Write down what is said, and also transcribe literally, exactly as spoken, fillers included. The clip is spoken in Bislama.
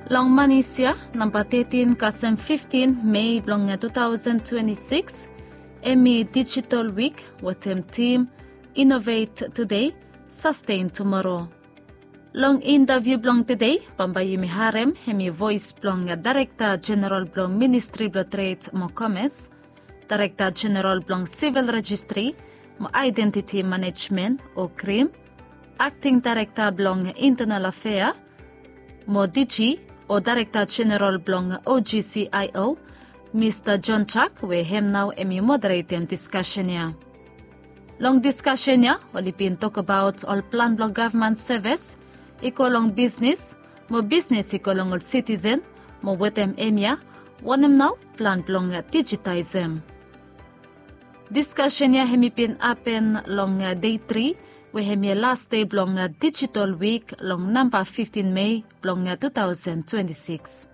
Long manis ya, namba tetin kasem fiftin Mei blong tu taosen twenti sikis, hemi Digital Week wetem tim Innovate Today, Sustain Tomorrow. Long intaviu blong tede, bambae yumi harem hemi voes blong Daerekta Jeneral blong Ministri blong Tred mo Komes, Daerekta Jeneral blong Sivil Rejistri mo Aedentiti Manejmen o krim, Akting Daerekta blong Intenal Afea mo DG o Daerekta Jeneral blong OGCIO, Mista John Chuck, we hem nao hemi moderetem diskasen ya. Long diskasen ya oli bin tokbaot ol plan blong gavman sevis i go long bisnis, mo bisnis i go long ol sitisen, mo wetem hemia wanem nao plan blong dijitaesem. Diskasen ya hemi bin hapen long dei tri, we hemia las dei blong Digital Week long namba fiftin Mei blong tu taosen twenti sikis.